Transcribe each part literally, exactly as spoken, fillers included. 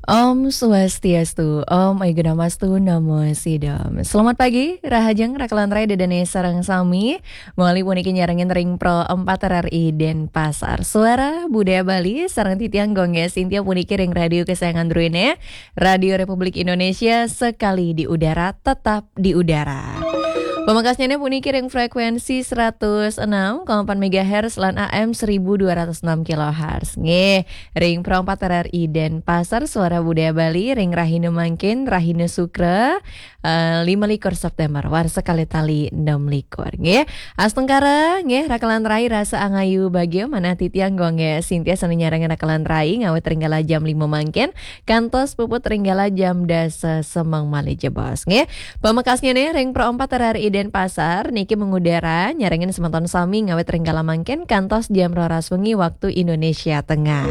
Om Swastiastu, Om Aiguna Mastu, Namo Sidam. Selamat pagi, rahajeng rakalan rai dedane sareng sami. Mawali puniki nyarengin ring Pro empat R R I Denpasar. Suara Budaya Bali, sareng titiang Gung Gé Sintia puniki ring radio kesayangan druene, Radio Republik Indonesia, sekali di udara, tetap di udara. Pamekasnyane puniki ring frekuensi seratus enam koma empat megahertz lan A M seribu dua ratus enam kilohertz. Nggih, ring Pro empat R R I Denpasar, Suara Budaya Bali, ring rahina mangkin, rahina Sukra, eh, lima likur September, warsa kalih tali enam likur. Nggih, astungkara, nggih, rakalan rai rasa angayu bagia, manah titiang Gung Gé Sintia sane nyarengin rakalan rai ngawit ring kala jam lima mangkin, kantos puput ring kala jam dasa semeng malih jebos, nggih. Pamekasnyane ring Pro empat R R I Denpasar, niki mengudara, nyarengin semeton sami ngawit ring kala mangkin kantos jam roras wengi waktu Indonesia Tengah.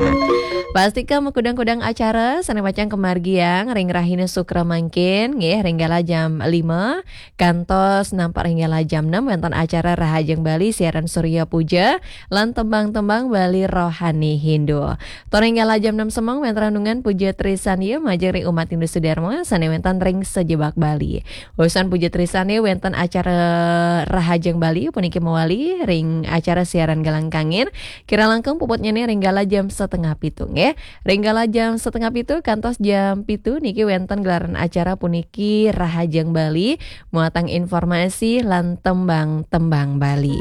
Pastika makudang-kudang acara sane pacang kamargiang ring rahina Sukra mangkin, nggih, ring kala jam lima kantos nampak ring kala jam enam wenten acara Rahajeng Bali siaran Surya Puja lan tembang-tembang Bali rohani Hindu. Tur ring kala jam enam semeng wenten renungan Puja Trisandya majeng ring umat Hindu Sudarma sane wenten ring sajebag Bali. Usan Puja Trisandya wenten acara Rahajeng Bali puniki mawali ring acara siaran Galang Kangin. Kirang langkung puputnyane ring kala jam setengah pitu, nggih. Ring kala jam setengah pitu kantos jam pitu niki wenten gelaran acara puniki Rahajeng Bali, muatang informasi lan tembang-tembang Bali.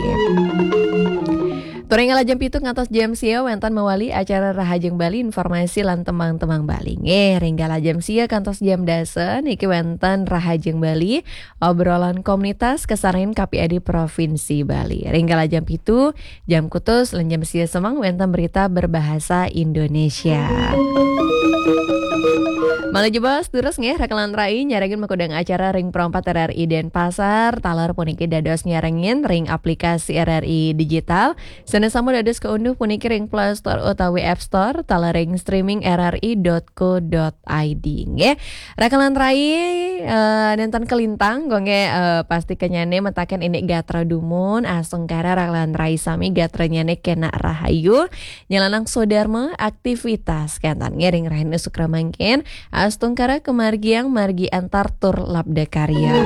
Tur ring kala jam pitu ngantos jam sia wenten mawali acara Rahajeng Bali, informasi lan tembang-tembang Bali. Nggih, ring kala jam sia kantos jam dasa niki wenten Rahajeng Bali, obrolan komunitas kasarengin K P A D Provinsi Bali. Ring kala jam pitu, jam kutus lan jam sia semeng wenten berita berbahasa Indonesia. Malih jebos, durus nggih, rakalan rai nyarengin makudang acara ring Pro empat R R I Denpasar, taler puniki dados nyarengin ring aplikasi R R I Digital, sane sampun dados kaunduh puniki ring Play Store utawi App Store, taler ring streaming R R I dot co dot I D, nggih. Rakalan rai, eh, nenten kalintang, Gung Gé, eh, pastika nyane mataken indik gatra dumun, astungkara rakalan rai sami gatranyane kena rahayu, nyelanang swadarma, aktivitas, kenten nggih ring rahina Sukra mangkin, astungkara kamargiang margi antar tur labda karya.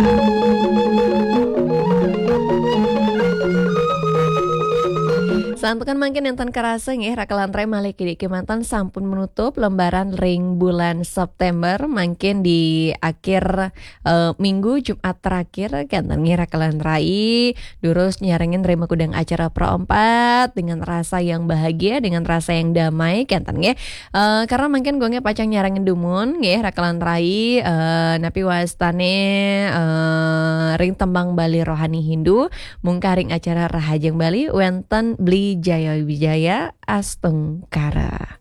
Santukan mangkin nenten karasa nggih, rakalan rai malih kidik kemanten sampun menutup lembaran ring bulan September, mangkin di akhir, eh, minggu Jumat terakhir, kenten nggih rakalan rai, durus nyarengin ring makudang acara Pro empat dengan rasa yang bahagia, dengan rasa yang damai, kenten nggih. Eh, karena mangkin Gung Gé pacang nyarengin dumun nggih, rakalan rai, eh, napi wastane, eh, ring tembang Bali rohani Hindu, mungkah ring acara Rahajeng Bali wenten Bli Jaya Wijaya, astungkara.